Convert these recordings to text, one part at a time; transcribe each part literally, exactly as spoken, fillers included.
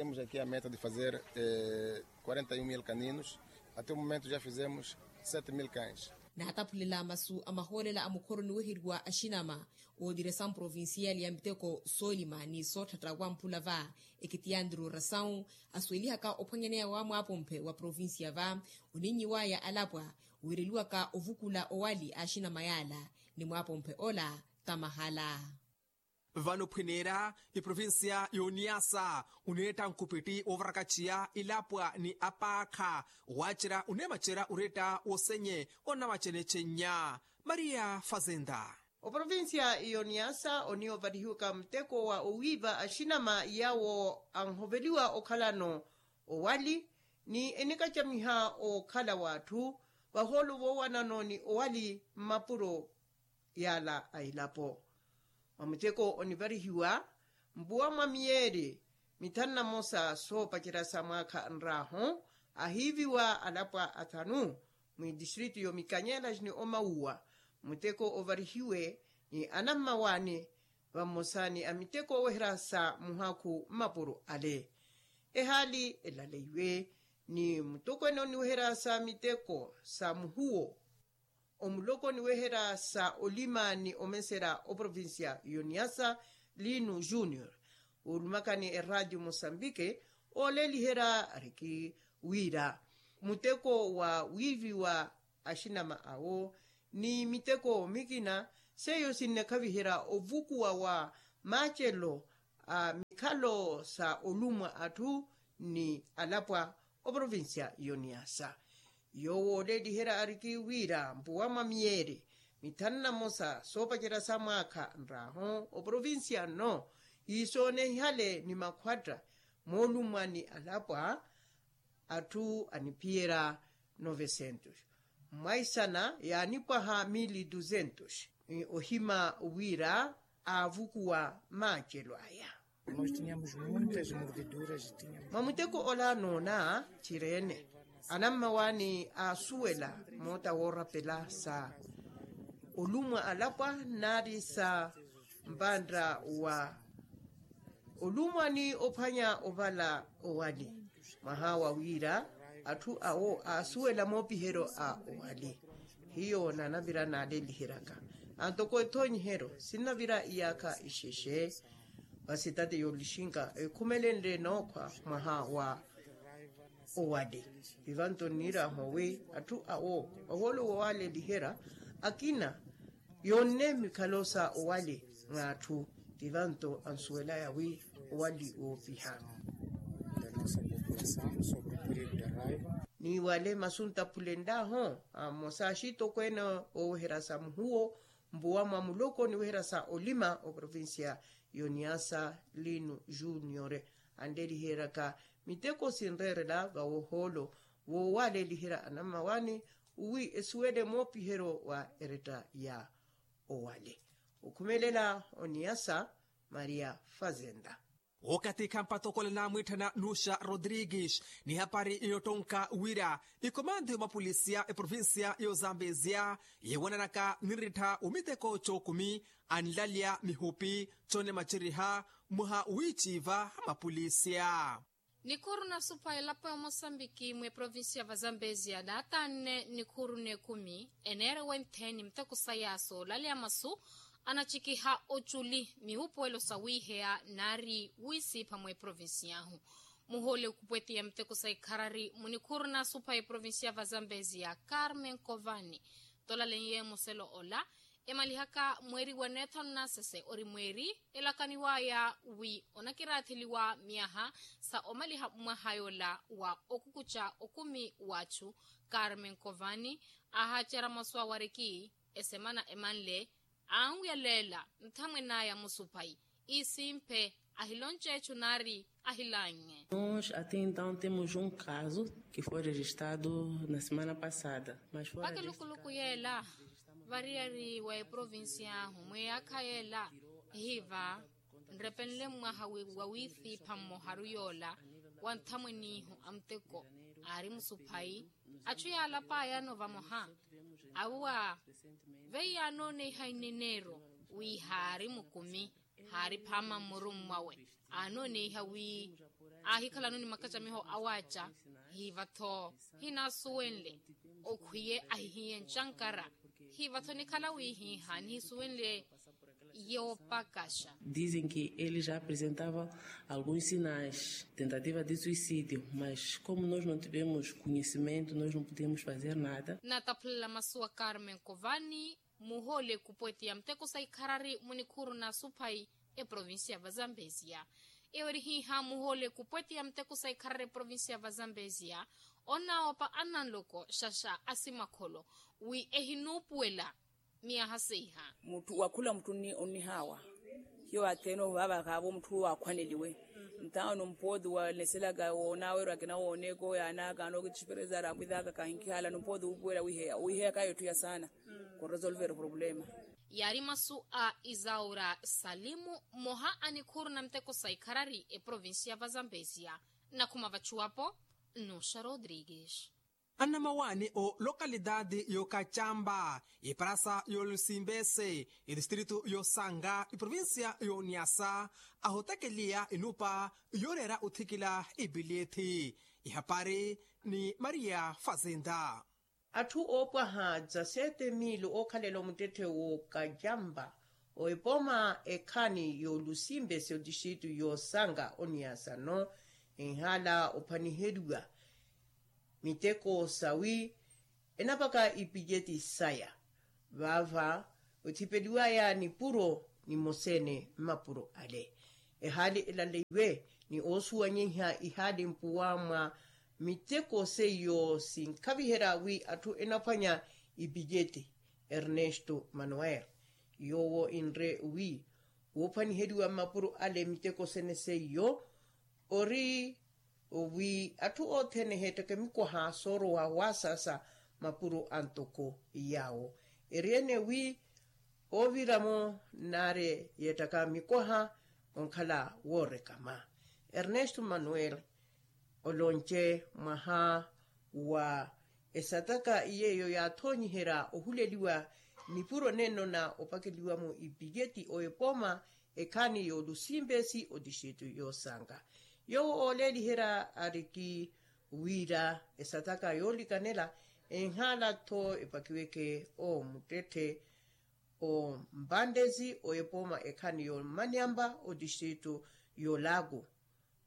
Temos aqui a meta de fazer quarenta e um mil caninos. Até o momento já fizemos sete mil cães. Naataphulela masu a mahoolela a mukhoro niweheriwa axinama, ootiresa mprovincial ya miteko soolima ni sootthatta wamphula va, ekitiyantiru rasawu asuwelihaka ophwanyaneya wa mwaapomphe wa provincia va, oninyiwaya alapwa wiireliwaka ovukula owali a axinama yaala, ni mwaapomphe ola tamahala. Vano phwineera, eprovincia y'oniyasa oneetta nkupitti woovarakaciya ilapwa ni apaakha, waacerya oneemacerya oretta wosenye onamacene cennya. Maria fazenda. Oprovincia y'oniyasa oniya ovarihiwaka muteko wa owiiva axinama yawo anhoveliwa okhalano owali, ni enikacamiha okhala w'atthu vahoolo voowanano ni owali mmapuro yaala a ilapo. Mwa muteko onivarihiwa mpuwa mwa miyeeri mithanu na mosa soopacerya sa mwaakha nraahu, ahiiviwa alapwa athanu mwidistritu y'omikanyela ni omauwa. Muteko ovarihiwe ni anammawaani, vamosa ni amiteko oweherya sa muhakhu mmapuro ale. Ehaali elaleiwe ni mutokweene oniweherya sa miteko sa muhuwo omuloko niweherya sa olima ni omeserya oprovincia y'oniyasa, lino junior, olumakani eradio mosambike, ooleliherya ariki wira muteko wa wiiviwa axinama awo ni miteko mikina, seiyo sinnekhaviherya ovukuwa wa maacelo a mikhalo sa olumwa atthu ni alapwa oprovincia y'oniyasa. Yoowo ooleliherya ariki wira mpuwa mwa miyeeri mithanu na mosa soopacerya sa mwaakha nraahu oprovincia nno, hiisoonehihale ni makhwatta moolumwa ni alapwa atthu aniphiyerya novecentos, mwaisana yaanipwaha mili duzentos. Ohima wira aavukuwa maacelo aya. Mwa muteko ola noona cireene anammawaani aasuwela moota woorapela sa olumwa alapwa nari sa mpantta wa olumwa ni ophwanya ovala owali. Mwaha wa wira atthu awo aasuwela moopiheryo a owali. Hiyo nanavira naaleliheryaka antoko ethoonyiheryo sinnavira iyaakha ixexe. Vasitati yoolixinka ekhumelenle nookhwa mwaha wa owali. Vivanto nniirahu wi atthu awo ohoolo woowaaleliherya akina yoonne mikhalo sa owali mwa atthu. Vivanto ansuwelaya wi owali woopiha. Ni wale masu ntaphulenlahu amosa axitokweene ooweherya sa muhuwo mpuwa mwa muloko niweherya sa olima oprovincia y'oniyasa lino junior, anleliheryaka miteko sinreerela vawohoolo woowaaleliherya anammawaani wi esuwele moopiheryo wa eretta ya owale. Okhumelela oniyasa maria fazenda. Okathi khampatokola naamwiitthana nuxa rodrigues ni hapari yootonka wira ikomando y'omapolisiya eprovincia y'ozambezia yeewananaka ninrittha omiteko cookumi anlalya mihupi conemaceriha mwaha wiiciiva ha mapolisiya. Nikhuru na supha elapo ya mosambiki mweprovincia va zambezia naatanne nikhuru n'ekumi eneere wentheni muteko saya soolaleya masu anacikiha oculi mihupuwelo sawiiheya nari wiisiipha mweprovinciahu. Muhoole okupwetiya muteko sa ikharari munikhuru na supha eprovincia va zambezia carmen covani tolaleiye muselo ola emalihaka mweeri wa neethanu na sese ori mweeri elakaniwaya wi onakiraatheliwa myaha sa omaliha mwaha yola wa okukuca okumi w'achu. Carmen covani ahaacera masu awariki esemana emanle anwiyaleela nthamwen'aya musuphayi isimphe ahilonce echu nari ahilannye. Nós até então temos um caso que foi registrado na semana passada mas foi pakelukuluku yeela variyari wa eprovincia ahu mweyaakha yeela ehiiva nrepenle mwaha wa wiisiipha mmoharu yoola wa nthamwenihu a muteko aari musuphayi. Achu yaalapayano vamoha awo a veiya anooneiha ineneero wi haari mukumi haari phaama mmurummwawe anooneiha wi Aahikhalano ni makacamiho awaaca, hiivatho hinaasuwenle okhwiye ahihiye ncankara. Hiivatho nikhala wihiha nihisuwenle yoopakaxa. Dizem que ele já apresentava alguns sinais tentativa de suicídio, mas como nós não tivemos conhecimento nós não podemos fazer nada. Nataphulela masuwa carmen kovani muhoole kupweti ya muteko sa ikharari munikhuru na suphayi eprovincia va zambezia. Eyo eri hiiha muhoole kupweti ya muteko sa ikharari eprovincia va zambezia, onnawopa annanloko xaxa asimakholo wi ehinuupuwela miyaha seiha. Mutthu wakhula mutthu onnihaawa hiyo atheene ovaavakaavo mutthu waakhwaneliwe. Ntaano mpooti waneselaka woonawerwa akina wooneeka oyaanaaka anookittipereza arakwithaaka kahinkihaala nompooti wuupuwela wiheya wiheyaka yetthu ya saana. Kuresolvera oproblema. Yaari masu a isaura salimu mmoha a nikhuru na muteko sa ikharari eprovincia va zambezia. Nakhuma vachuwapo nnuxa rodrigues. Annamawaani o lokalitaati y'okacampa, eparasa y'olusimbese, etistritu y'osanga eprovincia y'oniasa ahotekeliya enupa yooreera othikila ipilyethi. Ihapari ni maria fazenda. Atthu oopwaha dza sete mil ookhalela omuttetthe w'okacampa, oepooma ekhaani y'olusimbese otixitu y'osanga oniasano enhala ophaniheriwa miteko sawi enapaka ipijeti saya. Vaava othipeliwaya nipuro nimoseene mmapuro ale. Ehaali elaleiwe ni oosuwanyeiha ihaali mpuwa mwa miteko seiyo sinkhaviherya wi atthu enaphwanya ipijeti. Ernesto manuel yoowo enre wi woophwaniheriwa mmapuro ale miteko sene seiyo ori wi atthu othene eheettaka emikwaha soorowa waasasa mapuro antoko yaawo. Eri ene wi ooviramo naari yeettaka mikwaha onkhala woorekama. Ernesto manuel olonce mwaha wa esataka yeeyo yaathoonyiherya ohuleliwa nipuro nenno na opakeliwamo ipijeti oepooma ekhaani y'olusimbesi otixitu y'osanga. Yoowo ooleeliherya ariki wira esataka yoolikanela enhaala-tho epakiweke omuttetthe ombandezi oepooma ekhaani y'omaniamba otixitu y'olaku,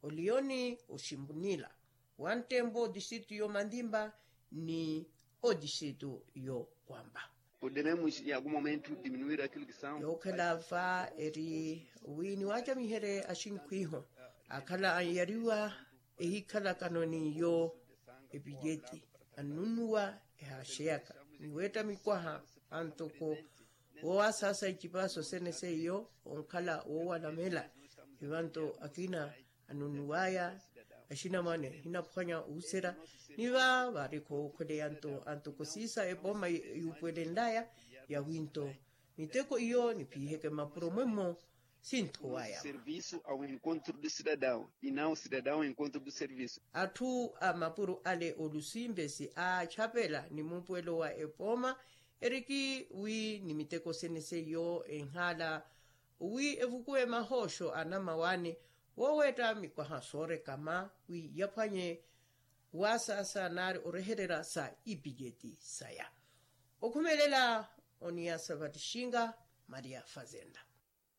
olioni oximpunila, wanttempo otixitu y'omantimpa ni otixitu y'okwampa. Podemos em algum momento diminuir aquilo que são. Yookhela va eri wi niwaacamiherye axinkhu iho akhala anyariwa ehikhalakano n'iyo epijeti annunnuwa ehaaxeyaka niweetta mikwaha antoko woowasaasa icipaso sene seiyo onkhala woowalamela. Ivanto akina anunnuwaya axinamwane hinaphwanya ohuserya ni va vaari khookhweleya nto antoko siisa epooma yuupuwelenlaya yawinto miteko iyo niphiheke mmapuro mwemmo sinthowaya. Serviço ao encontro do cidadão e não o cidadão ao encontro do serviço. Atthu a mapuro ale olusimbesi aachapela ni muupuwelo wa epooma eriki wi ni miteko sene seiyo enhaala wi evukuwe mahooxo anamawaani wooweetta mikwaha soorekama wi yaphwanye waasaasa naari orehererya sa ipijeti saya. Okhumelela oniyasa vattixinga maria fazenda.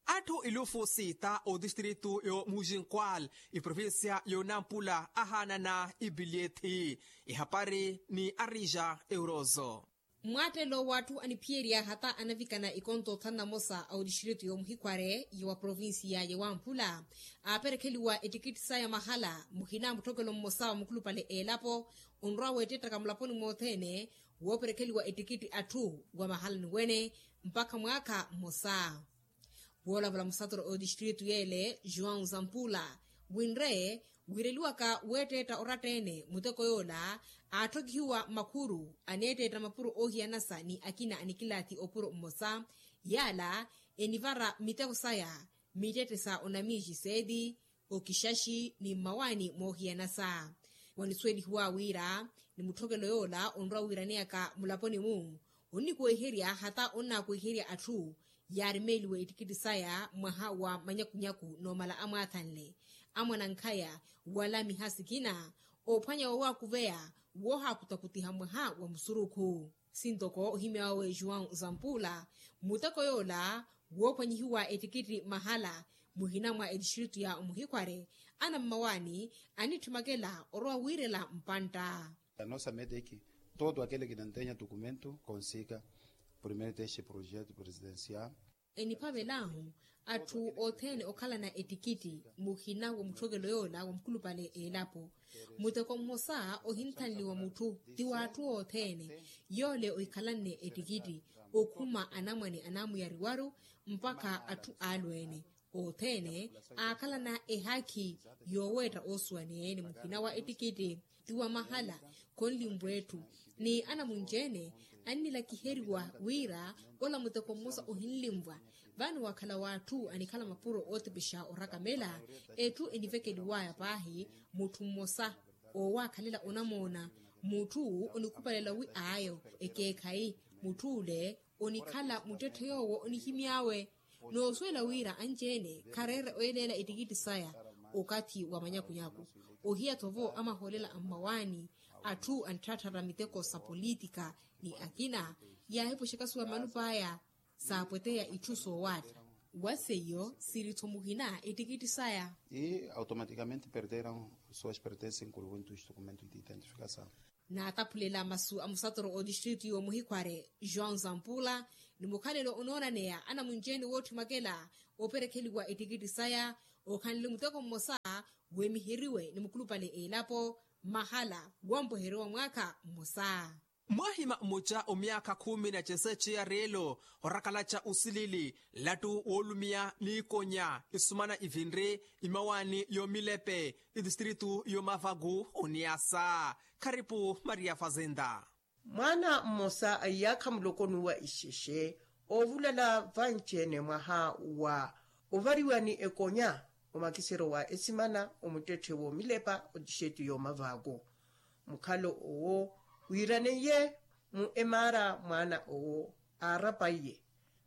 Atthu elufu sita otistritu y'omuxinkwal eprovincia y'onampula ahaanana ipilyethi. Ehapari ni arija eurozo. Mmwaattelo w'atthu aniphiyerya hata anavikana ikonto thanu na mosa a otistritu y'omuhikhware ya wa provincia ya wamphula aaperekheliwa ettikitti saya mahala muhina mutthokelo mmosa wa mukhulupale elapo onrwa weettettaka mulaponi mothene wooperekheliwa ettikitti atthu wa mahalani wene mpakha mwaakha mmosa. Woolavola musatoro otistritu yeele joão zampula winre wiireliwaka weetteetta oratta-ene muteko yoola aatthokihiwa makhuru aneetteetta mapuro oohiyanasa ni akina anikilaathi opuro mmosa yaala enivara miteko saya mittette sa onamiixi seeti okixaxi ni mmawaani moohiyanasa. Wanisuwelihiwa wira ni mutthokelo yoola onrwa wiiraneyaka mulaponi-mu onnikuweiherya hata onnaakuweiherya atthu yaarimeeliwa ettikitti saya mwaha wa manyakunyaku noomala amwaathanle amwanankhaya wala miha sikina oophwanya woowakuveya woohaakutakutiha mwaha wa musurukhu. Sintoko ohimya wawe juwau zampuula muteko yoola woophwanyihiwa ettikitti mahala muhina mwa ettistritu ya omuhikhware anammawaani anitthimmakela orowa wiirela mpantta. Anosa meteki todo akele kinanteenya tukumento konsika primeiro teste projeto presidencial. Eniphavelaahu atthu othene okhalana ettikitti muhina wa mutthokelo yoola wa mukulupale eelapo. Muteko mmosa ohinthanliwa mutthu ti w'atthu othene yoole ohikhalanne ettikitti okhuma anamwane anamuyariwaru mpakha atthu alweene othene aakhalana ehaakhi yooweetta oosuwaneene muhina wa ettikitti. Ti wa mahala khonlinvwa etthu ni anamunci-ene annilakiheriwa wira ola muteko mmosa ohinlinvwa. Vano wakhala w'atthu anikhala mapuro ootepexa orakamela etthu enivekeliwaya paahi mutthu mmosa oowakhalela onamoona mutthu onikhupalela wi aayo ekeekhayi mutthu ole onikhala muttetthe yoowo onihimy'awe. Noosuwela wira anci-ene khareera oyeleela ettikitti saya okathi wa manyakunyaku ohiya-tho vo amahoolela a mmawaani atthu anitthaattharya miteko sa politika ni akina yaahipwexekasuwa malup'aya saapweteya itthu soowaatta. Wa seiyo siri-tho muhina ettikitti saya. E automatikamente perderam suas pertences incluindo os documentos de identificação. Naataphulela masu a musatoro otistritu y'omuhikhware joão zampula ni mukhalelo onoonaneya anamunci-ene wootthimwakela operekheliwa ettikitti saya okhanle muteko mmosa wemiheriwe ni mukulupale elapo mahala wampweheryo wa mwaakha mmosa. Mwaahima mmuca omyaakha khumi na ceseeci ya reelo orakalaca osilili nlattu woolumiya n'ikonya isumana ivinri imawaani y'omilepe itistritu y'omavaku oniasa. Kharipu maria fazenda. Mwaana mmosa a iyaakha muloko n'uwa ixexe oovulala vanci-ene mwaha wa ovariwa ni ekonya omakisero wa esimana omuttetthe w'omilepa otixetu y'omavaku. Mukhalo owo wiiraneiye mu emaara mwaana owo aarapaiye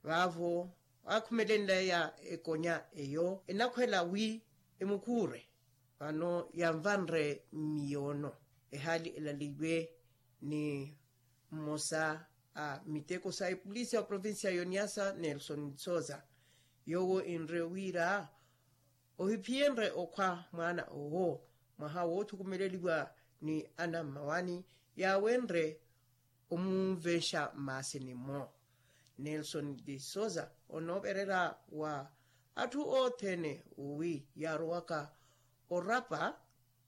vaavo aakhumelenleya ekonya eyo enakhwela wi emukuure vano yanvanre mmiyoono. Ehaali elaleiwe ni mmosa a miteko sa epolisi ya provincia y'oniasa nelson soza yoowo enre wira ohiphiyenrye okhwa mwaana owo mwaha woothukumeleliwa ni anammawaani yaawenrye omunvexa mmaasini-mo. Nelson de souza onoopererya wa atthu othene wi yaarowaka orapa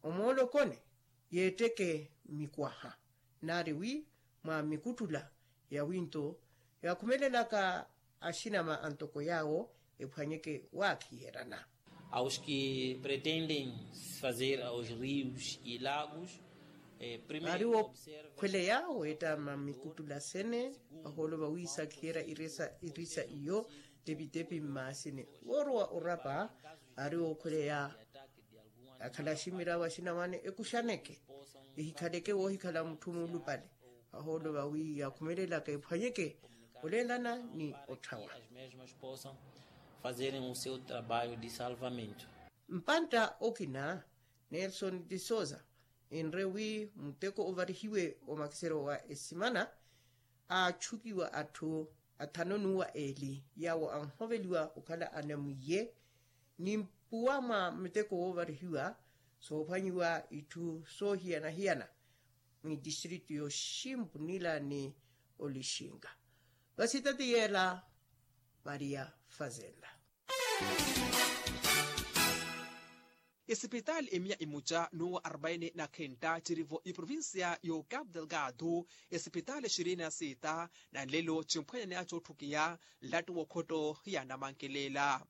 omoolokoni yeetteke mikwaha nari wi mwa mikuttula yawinto yakhumelelaka axinama antoko yaawo ephwanyeke waakhiherana. Aos que pretendem fazer aos rios e lagos. Vari wookhweleya weettama mikuttula sene vahoolo vawiisakhiherya irisa iyo tepitepi mmaasini woorowa orapa vari wookhweleya akhala aximira vaxina wane ekuxaneke ehikhaleke woohikhala mutthu muulupale vahoolo vawi yakhumelelaka ephwanyeke oleelana ni otthawa. Fazerem o seu trabalho de salvamento. Mpantta okina nelson de souza enre wi muteko ovarihiwe omakisero wa esimana aatxukiwa atthu athanu n'uwa eeli yaawo anhoveliwa okhala anamwiye ni mpuwa mwa muteko woovarihiwa soophwanyiwa itthu soohiyana-hiyana mwitistritu y'oximpunila ni olixinga. Vasitati yeela maria fazenda. Esipitaali emiya imuca n'uwa arbaini na khenta cirivo iprovincia y'ocapu delgado esipitaali xirini na sita na nlelo cimphwanyaneya cootthukiya nlattu w'okhotto ya namankelela.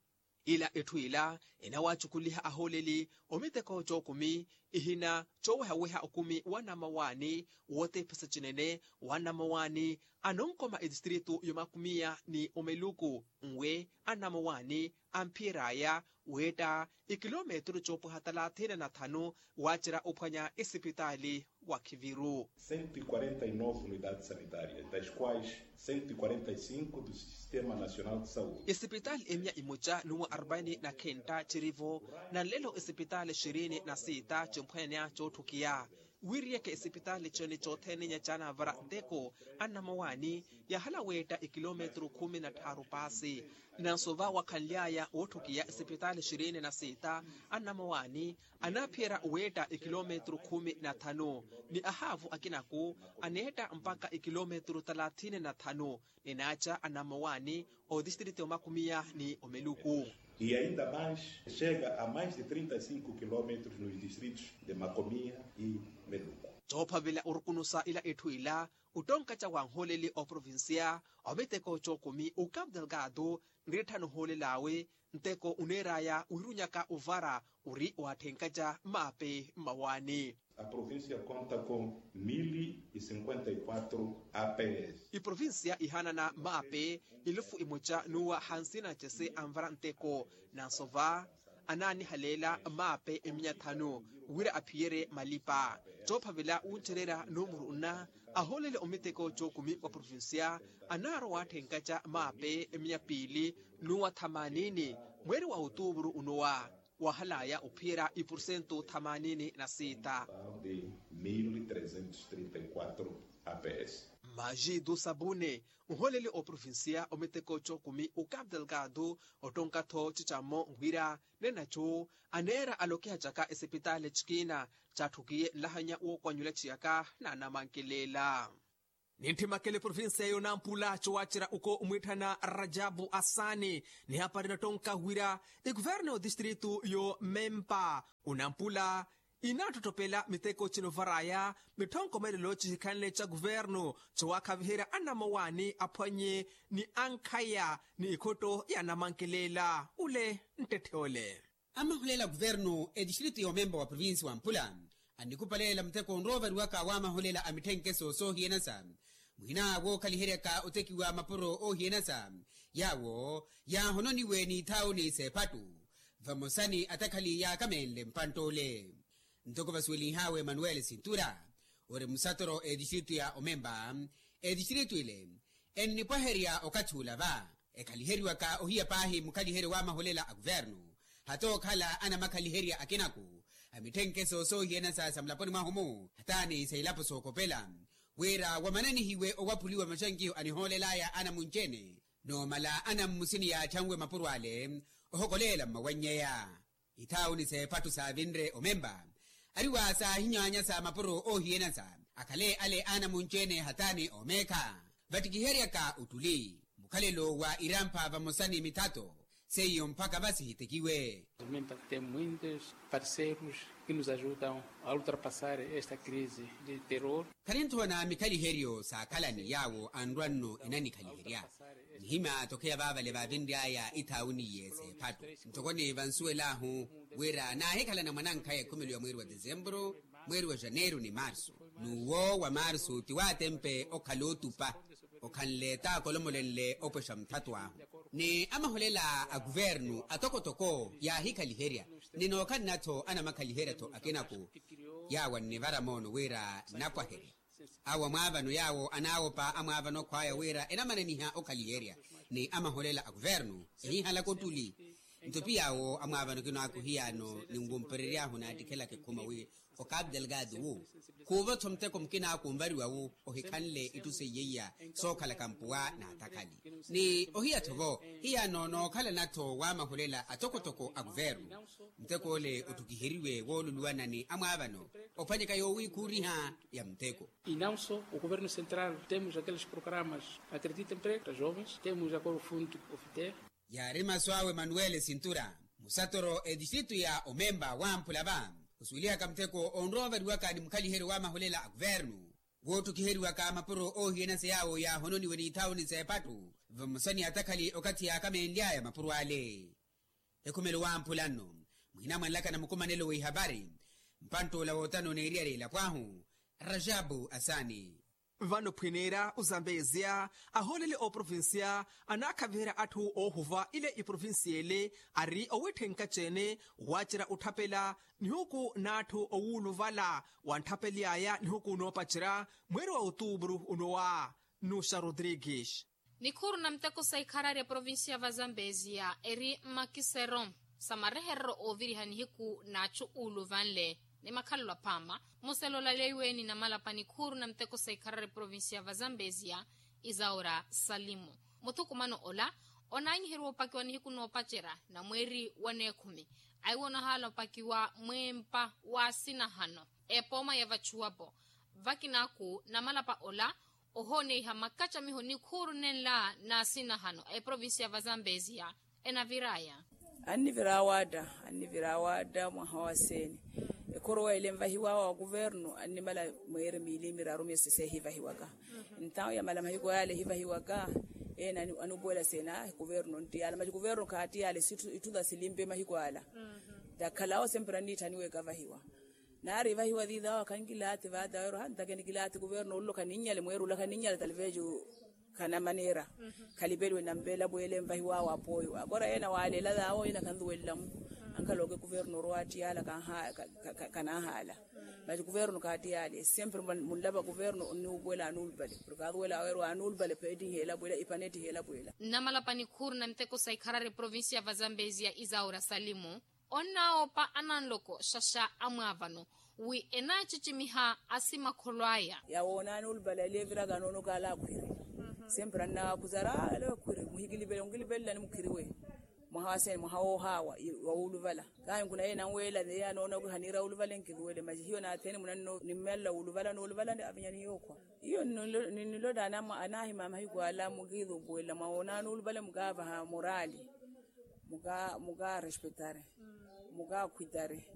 Ila etthu ila enawacukuliha ahooleli omiteko cookumi ihina coowehaweha okumi wa namawaani wootephesa cinene wa namawaani anonkoma etistritu y'omakumiya ni omeluku nwe a namawaani amphiyer'aya Weetta ikilometru coopwaha talathini na thanu waacerya ophwanya esipitaali wa khiviru. Cento e quarenta e nove unidades sanitárias das quais cento e quarenta e cinco do sistema nacional de saúde. Esipitaali emiya imoca nuwa arbaini na khenta cirivo. Na nlelo esipitaali xirini na siita cimphwanya cootthukiya. Wiiriyeke esipitaali cene cothene nyacana vara nteko annamowaani yahala weetta ekilometru khumi na tthaaru paasi. Nanso va wakhanly'aya wootthukiya esipitaali xirini na siita annamowaani anaaphiyerya weetta ekilometru khumi na thanu. Ni ahaavu akinaku aneetta mpakha ekilometru talathini na thanu. Ni naaca annamowaani otistritu ya omakumiya ni omeluku. E ainda mais chega a mais de trinta e cinco quilómetros nos distritos de macomiya e meluku. Coophavela orukunusa ila etthu ila ottonkaca wa nhooleli oprovincia omiteko cookumi okapu delgado nritthana ohoolel'awe. Nteko oneer'aya wiirunyaka ovara ori waatthenkaca maape mmawaani. A provincia conta com mil e cinquenta e quatro aps. Iprovincia ihaanana maape elufu imoca n'uwa hansina cese anvara nteko. Nanso va anaanihaleela maape emiya thanu wira aphiyerye malipa. Coophavela wuncererya numuru nna ahoolele omiteko cookumi wa provincia anaarowa waatthenkaca maape emiya piili n'uwa thamanini mweeri wa otuuvuru onowa. Wahalaya ophiyerya ipursentu thamanini na siita. De mil trezentos trinta e quatro aps. Majitu sabune nholeli oprovincia omiteko cookumi okapu delgado ottonka-tho cicammo wira nenaco aneera alokihacaka esipitaali cikina catthukiye nlahanya wookwannyula ciyaka na anamankelela. Nintthi makele provincia yonampula cowacerya uko omwiitthana rajabu asaani nihapari nattonka wira ekuvernu ya otistritu yo mempa onampula inaattottopela miteko cinovaraya mitthonkomelelo cihikhanle ca kuvernu cowakhaviherya anamowaani aphwanye ni ankhaya ni ikhotto ya anamankelela ule nttetthe ole. Amahulela kuvernu etistritu ya omempa wa provincia wa mpula annikupalelela muteko onroovariwaka wamahulela a mitthenkeso soohiyanasa muhina wookhaliheryaka otekiwa mapuro oohiyanasa yaawo yaahononiwe n'ithaawuni s'ephattu vamosa ni atakhali yaakamenle mpantt'ole. Ntoko vasuwelinhaawe emanuweli sintura ori musatoro etistritu ya omempa etistritu ile ennipwaherya okathi ula va ekhaliheriwaka ohiya paahi mukhaliheryo wamahulela a kuvernu hata okhala anamakhaliherya akinaku a mitthenkeso soohiyanasa sa mulaponi mwahu-mu hataani sa ilapo sookopela wira wamananihiwe owaphuliwa maxankiho anihoolel'aya anamunci-ene noomala anammusini yaatthanwe mapuro ale ohokoleela mmawannyeya. Ithaawuni s'ephattu saavinre omempa ariwa saahinyaanyasa mapuro oohiyanasa akhale ale anamunci-ene hataani oomeekha vattikiheryaka ottuli mukhalelo wa irampha vamosa ni mithato seiyo mpakha vasihitekiwe. Também tem muitos parceiros que nos ajudam a ultrapassar esta crise de terror. Khaninthoona mikhaliheryo saakhalani yaawo anrwa-nno enanikhaliherya nihimya tokheya vaavale vaavinry'aya ithaawuni iye s'ephattu ntokoni vansuwel'ahu wira naahikhalana mwanankhaya ekhumelo ya mweeri wa desemburu mweeri wa janeiru ni marsu n'uwo wa marsu ti waatempe okhala otupa okhanle t'akolomolenle opwexa muthattu ahu ni amaholela a kuvernu atokotoko yaahikhaliherya ni nookhalana-tho anamakhaliherya-tho akinaku yaawo annivara moono wira nnapwaherya awo amwaavano yaawo anaawopa amwaavano akhw'aya wira enamananiha okhaliherya ni amaholela a kuvernu ehihalaka ottuli nto piyaawo amwaavano kinaakuhiyaano ninwumperery'ahu naattikhelaka ekhuma wi okapu delgado wu khuuvo-tho muteko mukina kunvariwa wu ohikhanle itthu seiyeiya sookhalaka mpuwa n'atakhali ni ohiya-tho-vo hiyaano nookhalana-tho wamahulela atokotoko a kuvernu muteko ole ottukiheriwe wooluluwana ni amwaavano ophwanyeka yoowiikhuuriha ya muteko. E não só o governo central temos aqueles programas acredita emprego para jovens temos agora o fundo ofite. Yaari masu awe manuwele sintura musatoro etistritu ya omempa wamphula va osuwelihaka muteko onroovariwaka ni mukhaliheryo wamahulela a kuvernu woottukiheriwaka mapuro oohiyanasa yaawo yaahononiwe n'ithaawuni s'ephattu vamosa ni atakhali okathi yaakamenly'aya mapuro ale. Ekhumelo wamphula nno muhina mwanlakana mukumanelo w'ihapari mpantt'ola wootana oneeriyari elapo ahu rajabu asaani. Vano phwineera ozambeezia ahoolele oprovincia anaakhaviherya atthu oohuva ile iprovincia ele ari owitthenka ceene waacerya otthapela nihuku n'atthu owuuluvala. Wantthapely'aya nihuku noopacerya mweeri wa otuupuru onowa. Nuxa rodrigues. Nikhuuru na muteko sa ikharari eprovincia va zambezia eri mmakisero sa mareherero ooviriha nihiku n'achu uuluvanle ni makhalelo aphaama. Muselo olaleiwe ni namalapa nikhuuru na muteko sa ikharari eprovincia va zambezia, isaura salimu. Muthukumano ola onaanyiheriwa opakiwa nihiku noopacerya na mweeri wa neekhumi. Aiwo onahaala opakiwa mweempa w'asinahano epooma ya vachuwapo. Vakinaaku namalapa ola ohooneiha makacamiho nikhuuru nenla n'asinahano a eprovincia va zambezia enavir'aya. Annivira awaatta annivira awaatta mwaha wa seeni. Ekhorowa ele envahiwawa wa kuvernu annimala mweeri miili miraru myesi seehivahiwaka. Ntawu yamala mahiku yaale ehivahiwaka ene anuupuwela seeni a kuvernu nttiyala masi kuvernu khattiyala. Itthu tasimpe mahiku ala takhalawo sempre anniitthaniweka avahiwa. Naari evahiwa tiitawo akhankilaati vaataweru hantake nikilaati kuvernu ollo khaninnyale mweeri ola khaninnyale talveju. Khana maneera khalipeliwe nampelapwele envahiwawo apooyo akora yeena waaleela taawo yeena khantuwelelamu. Ankhalooke kuvernu orowa attiyaala kanaahaala. Masi kuvernu kaattiyale sempre munlapa kuvernu onnuupuwela anuulupale porke atuwela aweru anuulupale pheettiheelapwela ipaneettiheelapwela. Nnamalapa nikhuuru na miteko sa ikharari provincia va zambezia isaura salimu. Onnaawopa ananloko xaxa amwaavano wi enaacicimiha asimakholo aya. Yawoonani olupale aleviraka anoono kaala akhwiri. Sempre annaakhuzara ale akhwiri muhikilipele onkilipelelani mukhiriwe. Mwaha wa sene mwaha woohaawa wawuluvala. Kahi nkuna yeye nanweela yeye anoona wi haniira wuluvale nkiluwele masi hiyo naathene munanno nimmelela wuluvala nooluvala avinyani yookhwa. Iyo ninnilotana anahima mahiku ala mukiirupuwela mwawoonani wuluvale mukaavaha morali. Mukaarespetari mukaakhwitari.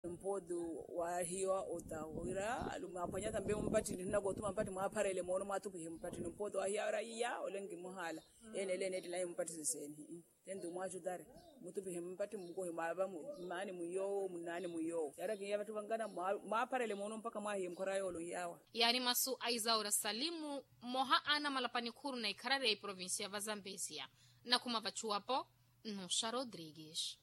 Mpooti waahiya ota wira alume aphwanya tampe mumpattini nnakootuma mpattini mwaapharele moono mwaatupihe mumpattini mpooti waahiya wira iya ole nkimuhaala. Ene ele eneettelaye mumpattini seeni. Tenti mwaaxutari mutupihe mumpattini mukohi mwaava mmaani mwiiyoowo munnaani mwiiyoowo yaari akihiya vatthu vankana. Mwaapharele moono mpakha mwaahiye mukhora yoolo nyaawa. Yaari masu a isaura salimu mmoha a anamalapa nikhuuru na ikharari ya iprovincia va zambezia. Nakhuma vachuwapo nnuxa rodrigues.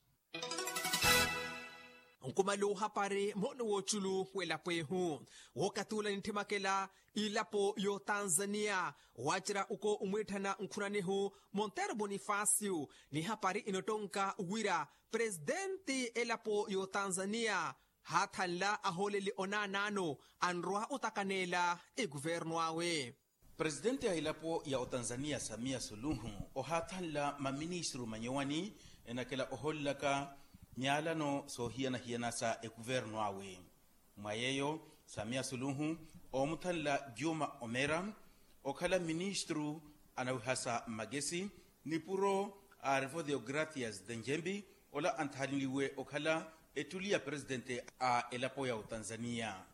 Nkumala ohapari moono w'oculu w'elapo ehu. Wookatula ninttimakela ilapo y'otanzania waacerya uko omwiitthana nkhunanihu montero bonifacio. Ni hapari inottonka wira presitenti elapo y'otanzania haathanla ahooleli onaanaano anrowa otakaneela ekuvernu awe. Presitenti a elapo ya otanzania samia suluhu ohaathanla maministru manyowani enakela ohoolelaka myaalano soohiyana-hiyana sa ekuvernu awe. Mwa yeeyo samia suluhu oomuthanla juma omera okhala ministru anawihasa mmakesi nipuro a revo deogratias denjembi ola anthanliwe okhala ettuli ya presitenti a elapo ya otanzania.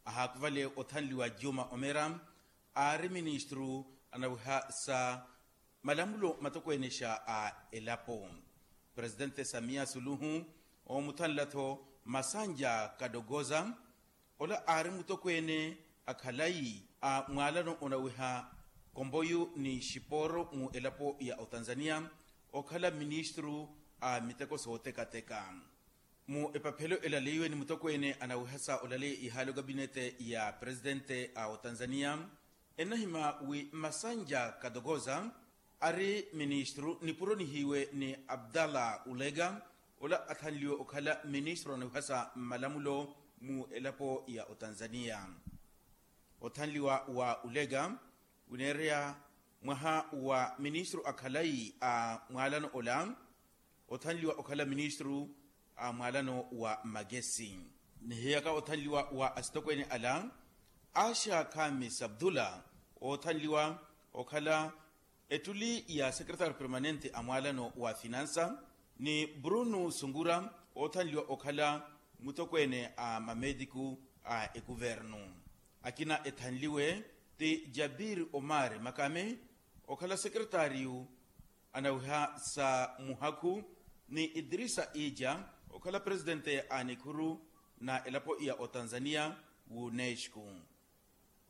Ahaakuvale othanliwa juma omera aari ministru anawiha sa malamulo matokwenexa a elapo. Presitente samia suluhu oomuthanla-tho masanja kadogoza ola aari mutokweene a khalayi a mwaalano onawiha komboyu ni xipooro mu elapo ya otanzania okhala ministru a miteko sootekateka. Mu epaphelo elaleiwe ni mutokweene anawihasa olaleya ihaali okapinete ya presitente a otanzania ennahima wi mmasanja katokoza ari ministru nipuro nihiiwe ni abdallah ulega ola athanliwe okhala ministru anawihasa mmalamulo mu elapo ya otanzania. Othanliwa wa ulega wineereya mwaha wa ministru a khalayi a mwaalano ola othanliwa okhala ministru a mwaalano wa mmakesi. Nihiyaka othanliwa wa asitokweene ala asha khamis abdullah oothanliwa okhala ettuli ya secretary permanente a mwaalano wa finansa ni bruno sungura oothanliwa okhala mutokweene a mametiku a ekuvernu. Akina ethanliwe ti jabir omar makame okhala secretariyu anawiha sa muhakhu ni idrisa ija okhala presitente a nikhuru na elapo ya otanzania w'unesco.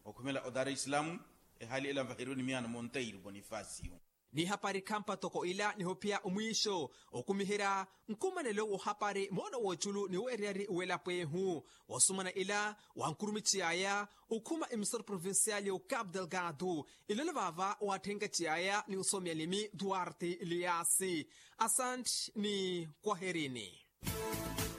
Okhumela o dar es salaam. Ehali ela nvaheriwe ni miyaano monteiro bonifacio. Ni hapari khampa toko ila nihophiya omwiixo okumiherya nkumanelo wohapari moona woochulu ni weereyari welapo ehu. Wosumana ila wankurumichiyaya okhuma emisoro provincial ya ocapo delgado. Ilolo vaava watthenkathiyaya ni osomi alimi duarte eliasi. Asanti ni kwaherini.